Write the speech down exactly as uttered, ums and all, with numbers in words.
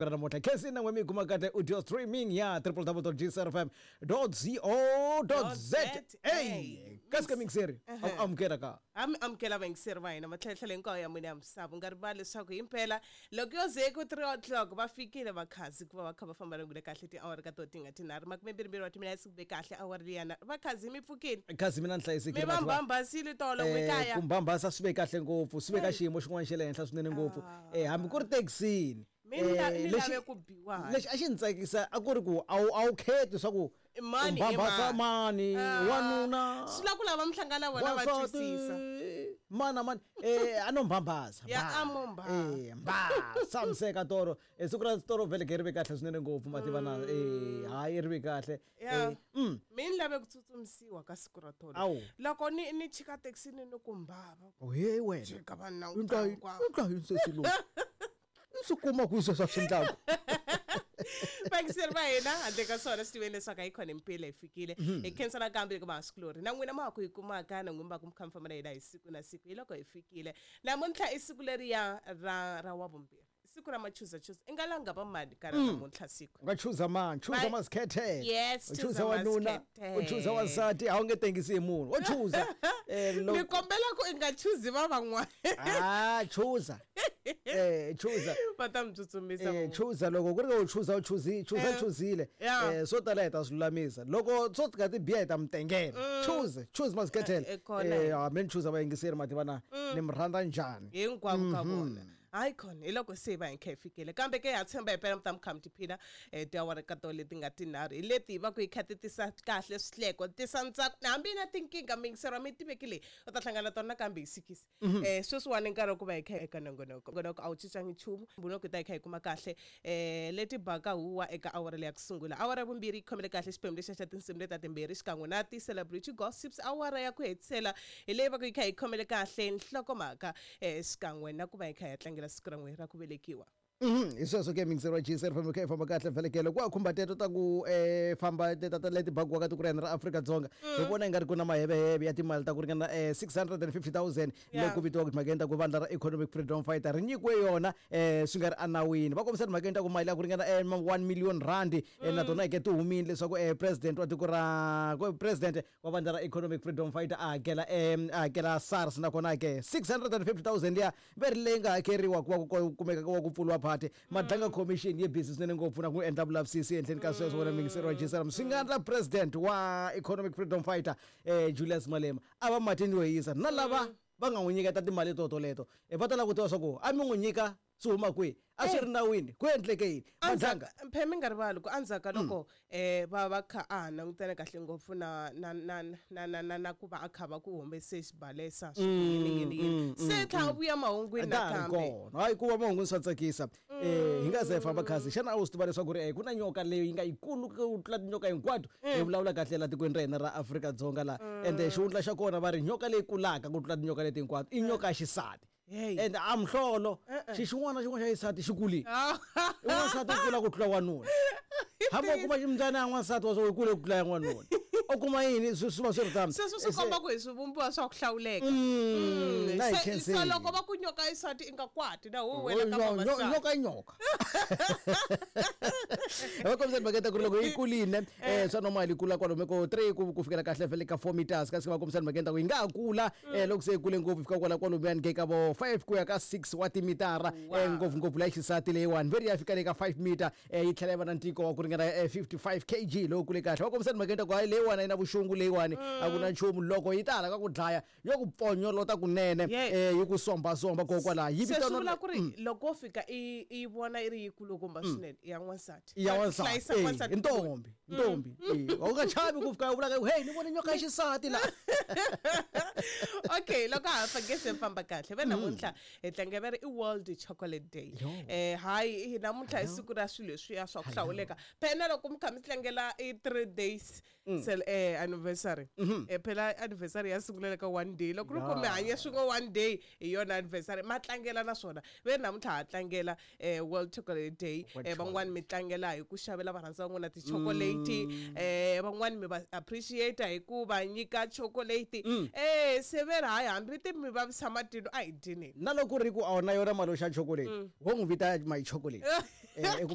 Ra namuntlha khensi na n'we mi yi kuma kahle audio streaming ya w w w dot g c r f m dot co dot z a. Kasi ka mixeri a amukela ka A mi amukela vayingiseri va hina matlhelatlhela hinkwayo ya mune ya misava. U nga rivali leswaku himpela loko yo ze ku three o'clock va fikile vakhazi ku va va kha va famba na kahle tiawara ka to ti nga tinharhu makume mbirhi wa timinetse ku be kahle awara liyana. Vakhazi, mi pfukile? Khazi, mina ni hlayisekile. Mi va mbambasile tolo n'wi Eh, kaya? Ku mbambasa swi ve kahle ngopfu, swi ve ka xiyimo xin'wana xa le henhla swinene ngopfu, eh hambi ku ri thekisini. Mi la- Eh, mi lexi- lave ku biwa hayi. Lexi a xi ni tsakisa a ku ri ku a wu a wu kheti swa ku mani i mbambasa mani, Ah, wanuna, swi la ku lava mi hlangana vona va wansati, twisisa. Mani na mani eh a no mbambasa. Ya, mba. a mo mba. eh mba samiseka toro. eh siku ra toro vhele ke ri ve kahle swinene ngopfu, mativa na eh hayi, ri ve kahle. Ya. eh mm Mi ni lave ku tsutsumisiwa ka siku ra tolo. Awu. Loko ni ni chika thekisini ni ku mbava. He wena. Chika vanhu U ndla yini? hinkwavo. U ndla yini sesi lowu i swi kuma kwihi sweswo swi ndlaku? Vayingiseri va hina, handle ka swona swi tiveni leswaku a yi khona impela hi fikile. Hi khensa nakambe loko vahasikulori na n'wina ma ha ku hi kumaka na n'wina va ku mi kha mi famba na hina hi siku na siku. Hi loko hi fikile namuntlha, i siku leriya ra ra wavumbirhi, siku ra machuza chuza. I nga langa va mani ka ra namuntlha siku? U nga chuza mani? Chuza Ma- masikhethela. Yes, U chuza chuza wanuna, u chuza wansati, a wu nge tengisi hi munhu wo chuza. eh Ni loko kombela ku i nga chuzi va van'wana. Ah, chuza, eh chuza. Va ta mi tsutsumisa eh van'wana. Chuza loko ku ri ka u chuza, u chuzi, chuza. Eh. Chuzile. Yeah. eh swo tala hi ta swi lulamisa loko swo tika ti biha hi ta mi tengela. Chuze, choose masikhethela. Eh, eh, kona. eh a mi ni chuza vayingiseri, mativa na ni mi rhandza njhani. Hinkwavo ka vona. Hayi khona, hi loko se va hi kha hi fikile kambe ke ha tshemba hi pela mi ta mi kha mi tiphina um tiawara ka to leti nga tinharhu hi leti hi va ku hi kha ti tisa kahle swihleko, tisa ntsako hambi na tinkingha. Miyingisero mi tiveki leyi u ta hlangana tona nakambe hi sikisi. um sweswiwani nkarhi wa ku va hi kha eka nongonoko. Nongonoko a wu cincangi nchumu, mbunoko hi ta hi kha hi kuma kahle um leti baka huwa eka awara leya ku sungula. Awara ya vumbirhi yi khomele kahle xiphemu lexiya xa tinsimu leta timbirhi xikan'we na ti-celebrity gossips. Awara ya ku hetisela hi leyi va ku yi kha yi khomele kahle nhlokomhaka um xikan'we na ku va hi kha hi ya tlangela siku ra n'we ra ku velekiwa. Mhm, hi sweswo ke mixer wa G C famba kha hi famba kahle vhelekele ku a khumba teto ta ku eh famba teta ta leti bakiwaka tiko ra hina ra Afrika-Dzonga. Hi vona i nga ri ku na maheveheve ya timali ta ku ringana eh six hundred and fifty thousand Yeah. leyi ku vitiwaka timhakeni ta ku vandla ra Economic Freedom Fighter ri nyikiwe yona eh swi nga ri enawini. Va kombisa timhakeni ta ku mali ya ku ringana eh one million rand eh na tona ke ti humile leswaku eh president wa tiko ra ku- president wa vandla ra Economic Freedom Fighter a hakela eh a hakela SARS. Nakona ke six hundred and fifty thousand liya ve ri leyi nga hakeriwa ku va ku kumeka ku va ku pfuriwa party. Madlanga Commission yi busy swinene ngopfu na ku endla vulavisisi ehenhleni ka sweswo. Wena mingiseri wa G S M, swi nga endla president wa Economic Freedom Fighter eh Julius Malema a va matini yo hisa na lava va nga n'wi nyiketa timali to toleto. Eh, va ta lava ku tiva swa ku a mi n'wi nyika swi huma kwihi, a swi ri nawini, ku endleke yini, Madlanga? Phe mi nga rivali ku endzhaku ka loko um va va kha a ha langutene kahle ngopfu na na na na na na na ku va a kha va ku humese xibalesa yini yini yini, se tlha a vuya mahungwini Ka ha ri nakambe. Kona hayi, ku va mahungwini swa tsakisa. um hi nga ze hi famba khasi, xana a wu swi tiva leswaku ri eh, ku na nyoka leyi yi nga yikulu ku tlula tinyoka hinkwato hi vulavula kahle la tikweni ra hina ra Afrika-Dzonga la? Ende xihundla xa kona va ri nyoka leyi kulaka ku tlula tinyoka leti hinkwato i nyoka ya xisati. Hey. Ende a muhlolo, xi xin'wana na xin'wana xa xisati xi kulile. I n'wansati u kula ku tlula wanuna. Hambi u kuma ximbyana ya n'wansati wa swo yi kule ku tlula ya n'wanuna, u kuma yini, swi swi va swi ri tano. Sweswo swi komba ku hi swivumbiwa swa ku hlawuleka. Mm, na hi Se- khensile. Se loko va ku nyoka xisati i nga kwati na hu wena ka Nyo- nyo- vavasati. Nyoka i nyoka. Va kombisa timhaka ta ku ri loko yi kulile um swa normal yi kula kwalomu ko three ku ku fikela kahle vhele ka four meters. Kasi va kombisa timhakeni ta ku yi nga ha kula um loko se yi kule ngopfu fika kwala kwalomuyani ke ka vo five ku ya ka six wa timitara. Wow. um ngopfungopfu la xisati leyiwani veri ya fika le ka five meter, um yi tlhela yi va na ntiko wa ku ringana eh, fifty-five kilograms lowu kule kahle. Va kombisa timhakeni ta ku hayi, leyiwani a yi na vuxungu, leyiwani a ku na nchumu. Loko yi ta hala ka ku dlaya yo ku pfonyolota kunene. Yeah. um yi ku sombasomba kokwalaho yi Se swi vitaniwa vula ku ri loko wo fika i i vona i ri yikulukumba swinene, i ya n'wansati. Ya wansati. Hlayisa Eh, n'wansati. I ntombi, ntombi. Eh, u nga chavi ku fika u vulaka, "Hey, ni vone nyoka ya xisati la." Okay, loko ha fa gese famba kahle ve namuntlha hi tlanga va ri i World Chocolate Day. Yo. eh hayi, hi namuntlha i siku ra swilo leswiya swa ku hlawuleka. Phela loko mi kha mi tlangela i three days sel eh anniversary, eh phela anniversary ya sungula ka one day. Loko ri ku mi hanye swin'we one day, hi yona anniversary ma tlangela. Naswona ve namuntlha ha tlangela eh World Chocolate Day. World. eh van'wani mi tlangela hi ku xavela varhandzi va n'wina ti-chocolate, eh van'wani mi va appreciate hi ku va nyika chocolate. eh se ve ri hayi, hambi ti mi vavisa matino, a hi dyeneni. Na loko ku ri ku a wu na yona mali yo xa chocolate, wo n'wi vita my chocolate. Eh, i ku